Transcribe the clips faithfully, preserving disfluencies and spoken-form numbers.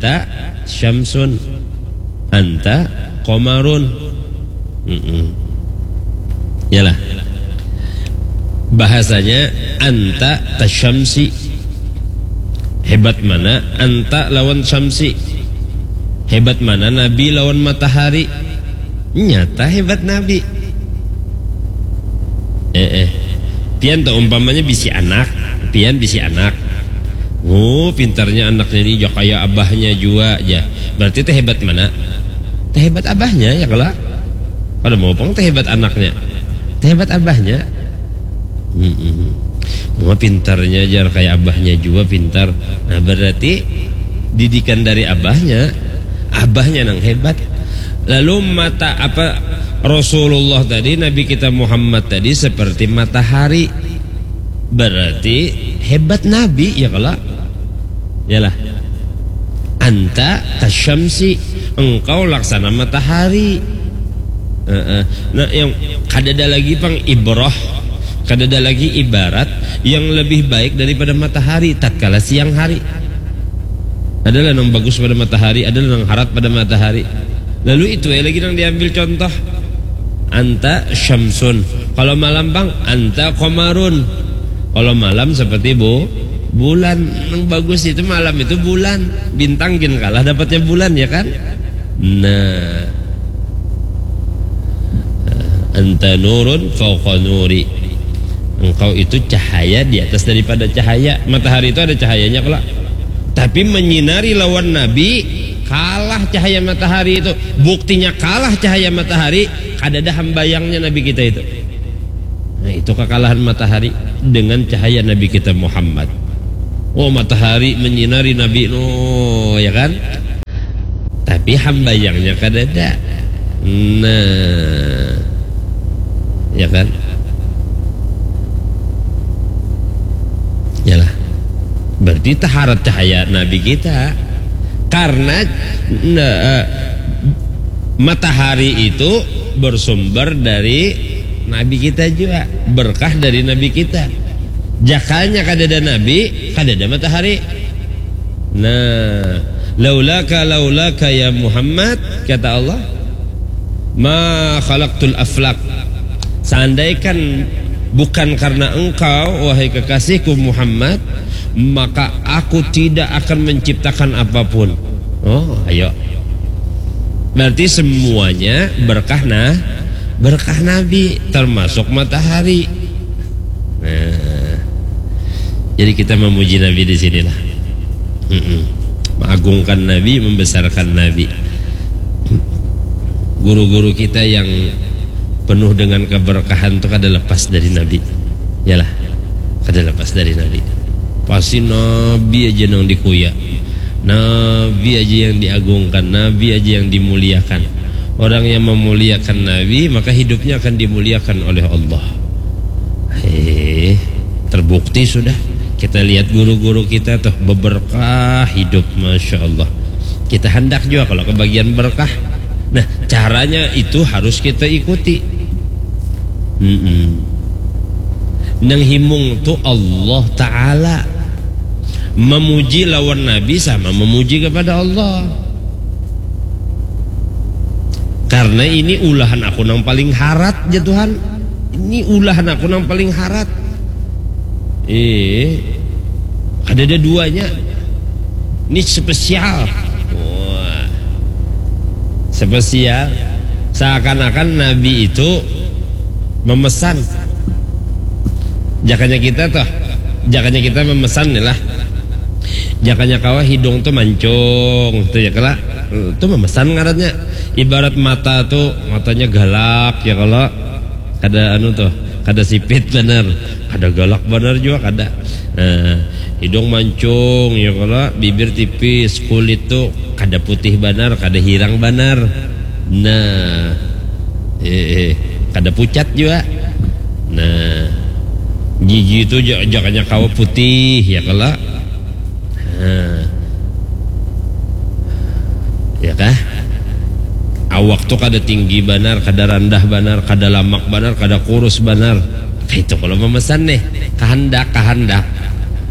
Anta syamsun, anta qamarun. Mm-mm. Yalah. Bahasanya anta kasyamsi. Hebat mana anta lawan syamsi? Hebat mana nabi lawan matahari? Nyata hebat nabi. Eh, eh. Pian tuh umpamanya bisi anak, pian bisi anak. Oh, pintarnya anaknya ini, ya kaya abahnya jua, ya. Berarti teh hebat mana? Teh hebat abahnya, ya kalo? Kada mau pang teh hebat anaknya. Teh hebat abahnya. Mm-mm. Wah, pintarnya, jar, kaya abahnya jua pintar. Nah, berarti didikan dari abahnya, abahnya nang hebat. Lalu mata apa, Rasulullah tadi, Nabi kita Muhammad tadi seperti matahari. Berarti hebat Nabi, ya kalo? Yalah. Anta kasyamsi, engkau laksana matahari. Heeh. Nah, yang kadada lagi pang ibrah, kadada lagi ibarat yang lebih baik daripada matahari tatkala siang hari. Adalah nang bagus pada matahari, adalah nang harat pada matahari. Lalu itu ya lagi nang diambil contoh. Anta syamsun. Kalau malam pang, anta qamarun. Kalau malam seperti bu, bulan. Nang bagus itu malam itu bulan. Bintang gin kalah dapatnya bulan, ya kan? Nah. Anta nurun fauqa nuri. Engkau itu cahaya di atas daripada cahaya. Matahari itu ada cahayanya kalo. Tapi menyinari lawan Nabi, kalah cahaya matahari itu. Buktinya kalah cahaya matahari, kadada hambayangnya Nabi kita itu. Nah, itu kekalahan matahari dengan cahaya Nabi kita Muhammad. Oh, matahari menyinari Nabi, no, ya kan? Tapi hambayangnya kadada. Nah, ya kan? Yalah. Berarti taharat cahaya Nabi kita. Karena, nah, eh, matahari itu bersumber dari Nabi kita juga, berkah dari Nabi kita. Jakanya kadada Nabi, kadada matahari. Nah, laulaka, laulaka ya Muhammad, kata Allah, ma khalaqtul aflak. Seandaikan bukan karena engkau, wahai kekasihku Muhammad, maka aku tidak akan menciptakan apapun. Oh, ayo. Berarti semuanya berkah, nah, berkah Nabi, termasuk matahari. Nah, jadi kita memuji Nabi di sinilah. Mm-mm. Mengagungkan Nabi, membesarkan Nabi. Guru-guru kita yang penuh dengan keberkahan itu kada lepas dari Nabi. Yalah, kada lepas dari Nabi. Pasti Nabi aja yang dikuya. Nabi aja yang diagungkan, Nabi aja yang dimuliakan. Orang yang memuliakan Nabi, maka hidupnya akan dimuliakan oleh Allah. Eh, terbukti sudah. Kita lihat guru-guru kita tuh beberkah hidup, masya Allah. Kita hendak juga kalau kebagian berkah. Nah, caranya itu harus kita ikuti. Mm-mm. Nang himung tu Allah Ta'ala. Memuji lawan Nabi sama memuji kepada Allah. Karena ini ulahan aku nang paling harat, ya Tuhan. Ini ulahan aku nang paling harat. Eh, ada ada duanya. Ini spesial. Wah. Spesial. Seakan-akan Nabi itu memesan. Jakanya kita tuh, jakanya kita memesan nih lah. Jakanya kawa hidung tuh mancung, tuh ya kala. Tuh memesan ngarannya. Ibarat mata tuh, matanya galak ya kala. Kada anu tuh, kada sipit banar. Kada galak banar juga kada. Nah, hidung mancung ya kala, bibir tipis, kulit tuh kada putih banar, kada hirang banar. Nah, eh, eh, kada pucat juga. Nah, gigi itu ja- jakanya kawa putih ya kala. Nah, ya kah? Awak tuh kada tinggi banar, kada randah banar, kada lamak banar, kada kurus banar. Itu kalau memesan nih, kehendak, kehendak.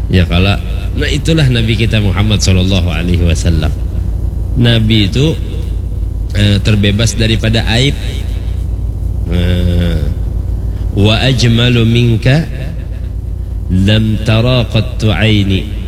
Ya kala. Nah, itulah Nabi kita Muhammad sallallahu alaihi wasallam. Nabi itu eh, terbebas daripada aib. Eh, wa ajmalu minka lam tara qattu aini.